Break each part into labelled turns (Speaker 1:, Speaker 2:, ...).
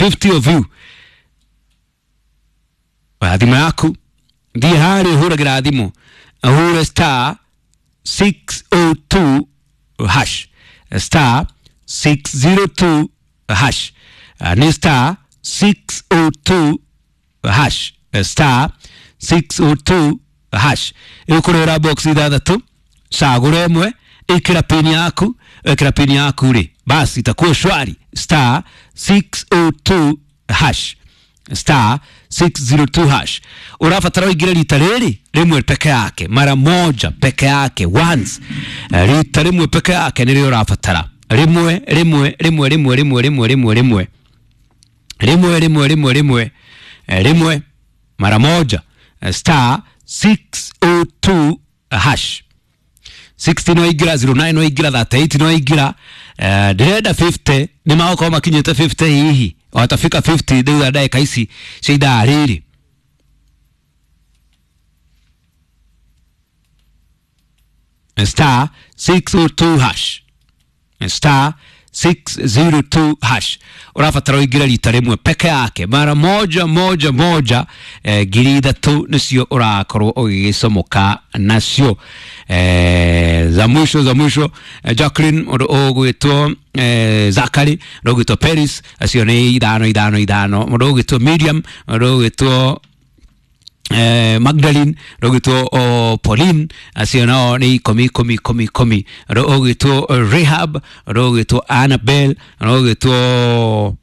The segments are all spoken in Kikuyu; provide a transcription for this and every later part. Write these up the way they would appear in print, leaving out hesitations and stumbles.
Speaker 1: 50 of you. Oya thimũ yaku, thiĩ harĩa ũhũragĩra thimũ, ũhũre star 602 hash, star 602 hash. Nĩ star 602 hash, star 602 hash. Ĩgũkũrehera box ithathatũ, cagũra ĩmwe, ĩkĩra pin yaku, ĩkĩra pin yaku rĩ, basi itakuwa shwari. Star 602 hash, star 602 hash. Ũrabatara ũingĩre rita rĩrĩ rĩmwe peke yake, mara moja peke yake, once. Rita rĩmwe peke yake nĩrĩo ũrabatara, rĩmwe rĩmwe rĩmwe rĩmwe rĩmwe rĩmwe rĩmwe rĩmwe rĩmwe rĩmwe rĩmwe rĩmwe, rĩmwe mara moja, star 602 hash. 60 no ingĩra, 09 no ingĩra, 38 no ingĩra. Ndĩrenda 50, nĩ magũkorwo makinyĩte 50, hihi watafika 50 thutha ndagĩka ici cia ithaa rĩrĩ. Star 602 hash, star 602 hash. Ũrabatara ũingĩre rita rĩmwe peke yake, mara moja moja moja. 3,000 nĩcio ũrakorwo ũgĩgĩcomoka nacio. Za mwisho za mwisho, Jacqueline, ũndũ ũgwĩtwo Zakari, ũndũ ũgwĩtwo Paris, acio nĩ ithano ithano ithano, mũndũ ũgwĩtwo Miriam, mũndũ ũgwĩtwo Magdalene, rũgĩtwo Pauline, acio nao nĩ ikũmi ikũmi ikũmi ikũmi, rũgĩtwo Rahab, rũgĩtwo Annabel, rũgĩtwo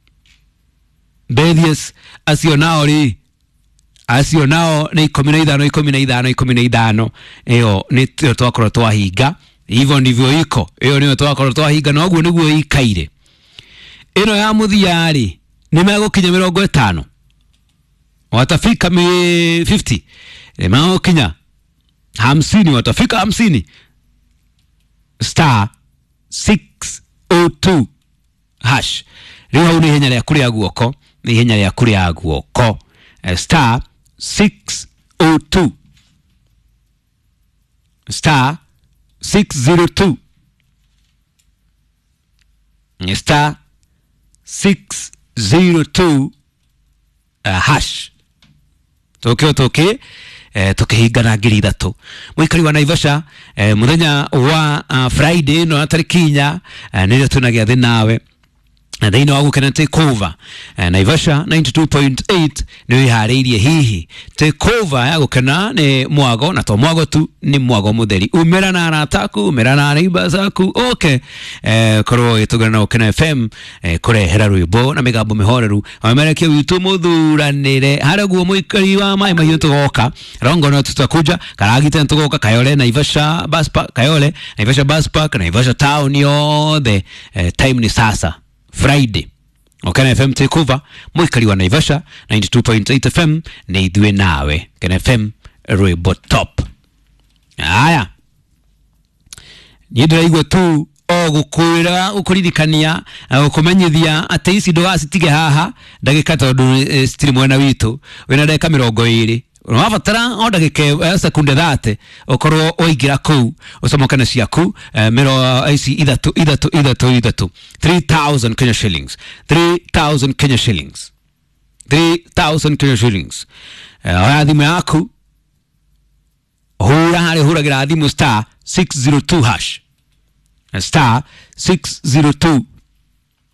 Speaker 1: Belius, acio nao rĩ, acio nao nĩ 15 15 15. Ĩyo nĩ ĩyo twakorwo twahinga, hivyo ndivyo iko, ĩyo nĩyo twakorwo twahinga, na ũguo nĩguo ĩikaire. Ĩno ya mũthia rĩ, nĩ megũkinya 50, watafika 50, megũkinya 50, watafika 50. Star 602 hash. Rĩu hau nĩ ihenya rĩaku rĩa guoko, nĩ ihenya rĩaku rĩa guoko. Star 602, star 602, star 602 hash. Tũkĩ tũkĩ tũkĩhingana 3,000. Mũikari wa Naivasha, mũthenya wa Friday ĩno ya tarĩki 4, nĩrĩo twĩna gĩathĩ nawe thĩinĩ wa Gũkena Takeover. Naivasha 92.8 nĩ wĩharĩirie hihi takeover ya Gũkena nĩ mwago, na to mwago tu, nĩ mwago mũtheri. Umĩra na arata aku, umĩra na neighbors aku, oke korwo ũgĩtũngana na Gũkena FM, kũrehera rwĩmbo na mĩgambo mĩhoreru, wamerekia witũ mũthuranĩre harĩa guo. Mũikari wa Maĩ Mahiũ tũgoka, Rongo tutakuja, Karagita tũgoka, Kayole, Naivasha bus park, Kayole, Naivasha bus park, Naivasha town yothe. Time ni sasa, Friday, Gũkena FM Takeover. Mũikari wa Naivasha, 92.8 FM nĩ ithuĩ nawe. Kena FM, rwĩmbo top. Aya, niĩ ndĩraigua tu o gũkwĩra, gũkũririkania, gũkũmenyithia atĩ ici ndũgacitige haha ndagĩka, tondũ citirĩ mwena witũ. Wĩna ndagĩka 20, ũrabatara o ndagĩka sekunde 30 ũkorwo waingĩra kũu ũcomoke ciaku, mĩro ici ithatũ ithatũ ithatũ ithatũ, 3000 Kenya shillings, 3000 Kenya shillings, 3000 Kenya shillings. Oya thimũ yaku, hũra harĩa ũhũragĩra thimũ, star 602 hash, star 602.